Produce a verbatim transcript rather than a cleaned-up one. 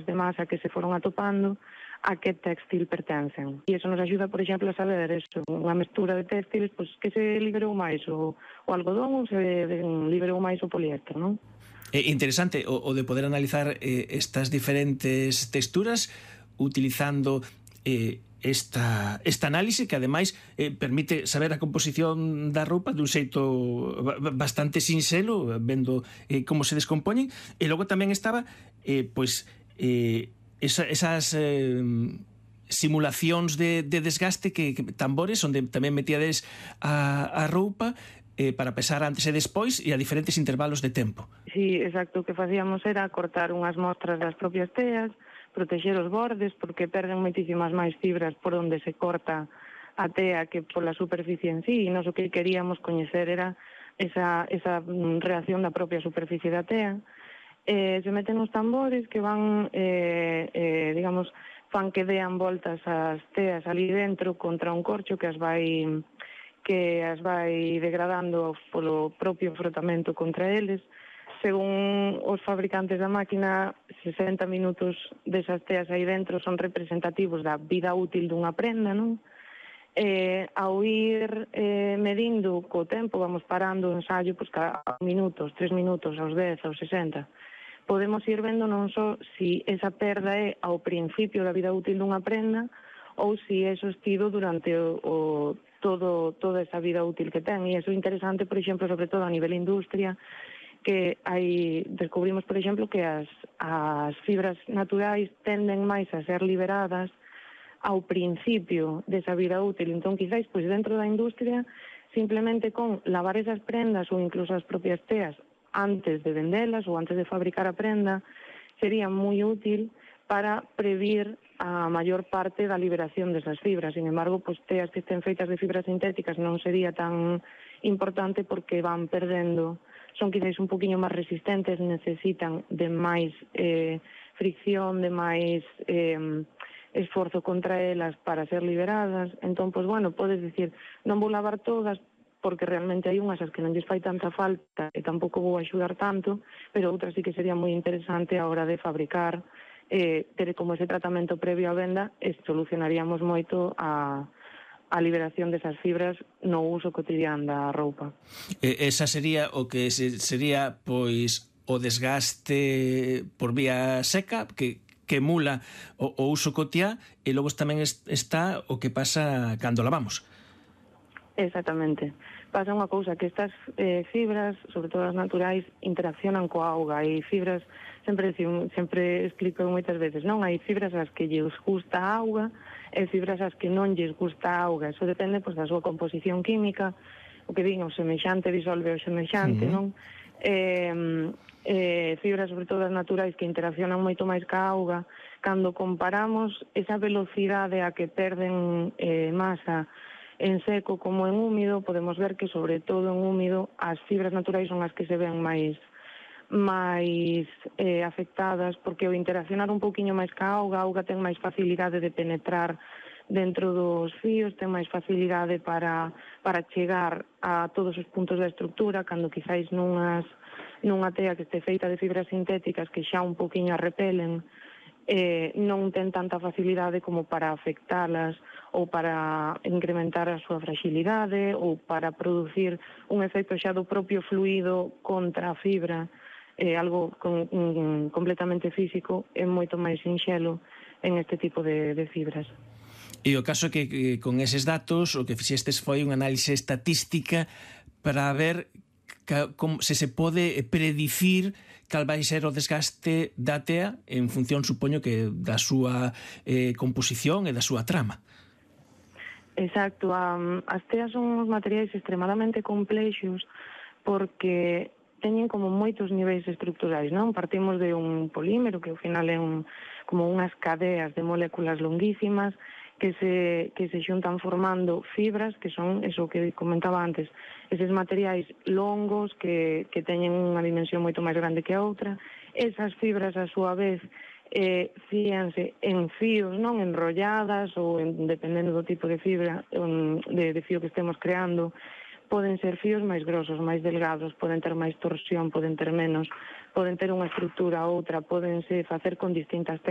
de masa que se foron atopando a que textil pertencen. E iso nos axuda, por exemplo, a saber eso, unha mestura de textiles, pois, que se liberou máis o, o algodón ou se liberou máis o poliéster, non? É interesante o, o de poder analizar eh, estas diferentes texturas utilizando eh, esta, esta análise que ademais eh, permite saber a composición da roupa dun xeito bastante sinxelo, vendo eh, como se descompoñen. E logo tamén estaba eh, pois eh, esa, esas eh, simulacións de, de desgaste que, que tambores onde tamén metíades a, a roupa eh, para pesar antes e despois e a diferentes intervalos de tempo. Sí, exacto, o que facíamos era cortar unhas mostras das propias teas, protexer os bordes, porque perden moitísimas máis fibras por onde se corta a tea que pola superficie en sí, e nos o que queríamos coñecer era esa, esa reacción da propia superficie da tea. Eh, se meten os tambores que van, eh, eh, digamos, fan que dean voltas as teas ali dentro contra un corcho que as vai que as vai degradando polo propio frotamento contra eles. Según os fabricantes da máquina, sesenta minutos desas teas aí dentro son representativos da vida útil dunha prenda, non? Eh, ao ir eh, medindo co tempo, vamos parando o ensaio, pois cada minutos, tres minutos, aos dez, aos sesenta, podemos ir vendo non só si esa perda é ao principio da vida útil dunha prenda ou si é sostido durante o, o todo toda esa vida útil que ten. E iso é interesante, por exemplo, sobre todo a nivel industria, que hai, descubrimos, por exemplo, que as, as fibras naturais tenden máis a ser liberadas ao principio desa vida útil. Entón, quizáis, pois, dentro da industria, simplemente con lavar esas prendas ou incluso as propias teas antes de vendelas ou antes de fabricar a prenda, sería moi útil para previr a maior parte da liberación desas fibras. Sin embargo, pois, teas que estén feitas de fibras sintéticas non sería tan importante porque van perdendo, son quizás un poquinho máis resistentes, necesitan de máis eh, fricción, de máis eh, esforzo contra elas para ser liberadas. Entón, pois, bueno, podes dicir, non vou lavar todas porque realmente hai unhas as que non lles fai tanta falta e tampouco vou axudar tanto, pero outras sí que sería moi interesante a hora de fabricar, eh, ter como ese tratamento previo á venda, e solucionaríamos moito a a liberación desas fibras no uso cotidiano da roupa. E, esa sería o que se, sería pois o desgaste por vía seca que, que emula o, o uso cotiá, e logo tamén es, está o que pasa cando lavamos. Exactamente. Pasa unha cousa, que estas eh, fibras, sobre todo as naturais, interaccionan coa auga. Hai fibras, sempre, sempre explico moitas veces, non? Hai fibras as que lles gusta a auga e fibras as que non lles gusta a auga. Eso depende, pois, da súa composición química, o que din, o semexante disolve o semexante, uh-huh. non? Eh, eh, fibras, sobre todo as naturais, que interaccionan moito máis ca auga. Cando comparamos esa velocidade a que perden eh, masa en seco como en húmido, podemos ver que, sobre todo en húmido, as fibras naturais son as que se ven máis máis eh, afectadas, porque ao interaccionar un pouquiño máis ca auga, a auga ten máis facilidade de penetrar dentro dos fíos, ten máis facilidade para, para chegar a todos os puntos da estructura, cando quizáis nunhas, nunha tea que este feita de fibras sintéticas que xa un pouquiño a repelen, eh, non ten tanta facilidade como para afectalas ou para incrementar a súa fragilidade ou para producir un efecto xa do propio fluido contra a fibra, eh, algo con, un, completamente físico, é moito máis sinxelo en este tipo de, de fibras. E o caso é que, que con eses datos o que fixestes foi unha análise estatística para ver que, como, se se pode predicir cal vai ser o desgaste da tea en función, supoño, que da súa eh, composición e da súa trama. Exacto, um, as teas son uns materiais extremadamente complexos porque teñen como moitos niveis estructurais, non? Partimos de un polímero que ao final é un, como unhas cadeas de moléculas longuísimas que se, que se xuntan formando fibras, que son, eso que comentaba antes, eses materiais longos que, que teñen unha dimensión moito máis grande que a outra. Esas fibras, a súa vez, eh, fíanse en fíos, non enrolladas ou en, dependendo do tipo de fibra, um, de, de fío que estemos creando, poden ser fíos máis grosos, máis delgados, poden ter máis torsión, poden ter menos, poden ter unha estrutura ou outra, podense facer con distintas